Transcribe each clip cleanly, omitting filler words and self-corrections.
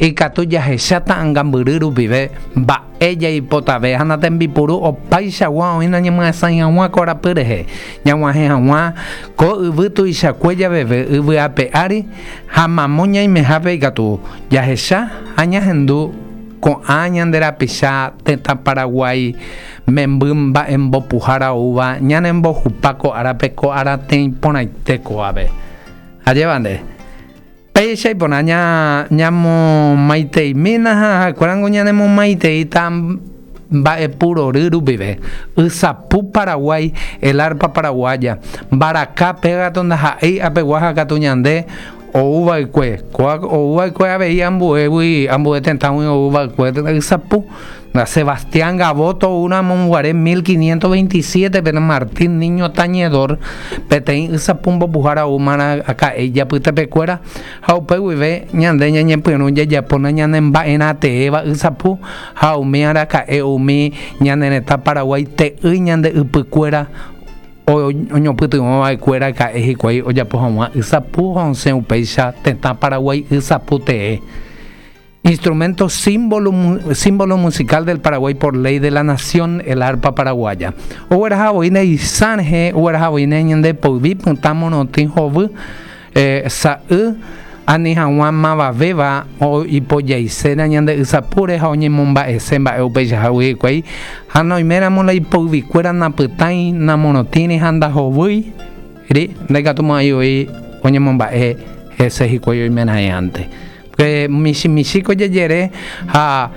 Ikatu jahecha ta'angambyry rupive mba'e jaipotave ha natembipuru opaichagua oĩ nañemyasãi hag̃ua ko arapy rehe, ñag̃uahẽ hag̃ua ko yvy tuichakue javeve yvy ape ári ha mamo ñaimehápe ikatu jahecha ha ñahendu ko'ã ñande rapicha tetã Paraguái memby mba'embopuhára oúva ñanembohupa ko árape ko aratĩi porãite kóvape. Ajépa nde. Péicha iporã ñamomaiteimína ha ha'ekuérango ñanemomaiteíta mba'epurory rupive. Ysapu Paraguái, el arpa paraguaya, mbaraka péva ndaha'éi apegua ha katu ñande ouva'ekue. Kóva ouva'ekue avei ambuégui, ambue tetãgui ouva'ekue ysapu. Sebastián Gaboto oúramo guare 1527-pe Martín Niño Tañedor peteĩ ysapu mbopuhára oúma raka'e ijapytepekuéra ha upe guive ñande ñañepyrũ jajapóna ñane mba'erã teéva ysapu ha umi araka'e umi ñane retã Paraguái te'ýi ñande ypykuéra oñopytyvõ va'ekue raka'e hikuái ojapo hag̃ua ysapu ha osẽ upéicha tetã Paraguái ysapu tee. Instrumento símbolo, símbolo musical del Paraguay por ley de la nación, el arpa paraguaya. Ogueraha voíne isã rehe, ogueraha voíne ñande poyvi pytã morotĩ hovy, eh, sa'y, ani hag̃ua mavavéva ipojaiséna ñande ysapúre ha oñemomba'ese mba'e upeichahágui hikuái, ha noiméramo la ipoyvikuéra napytãi, namorotĩri ha ndahovýi, ri, ndaikatumo'ãi voi oñemomba'e hese hikuái oimeraẽante. Pe michĩ michĩ ko jejere ha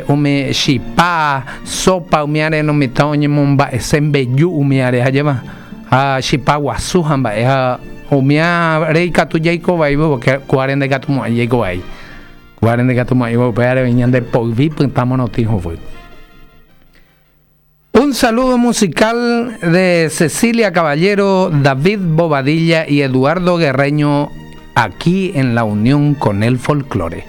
umi chipa, sopa umi are lo mitã oñemomba'ese mbeju umi are ajépa ha chipa guasu ha mba'e ha umi are ikatu jaiko vai porque kuare ndaikatumo'ãi jaiko vai. Kuare ndaikatumo'ãi upévare oĩ ñande poyvi pytã morotĩ hovy. Un saludo musical de Cecilia Caballero, David Bobadilla y Eduardo Guerreño aquí en la unión con el folclore.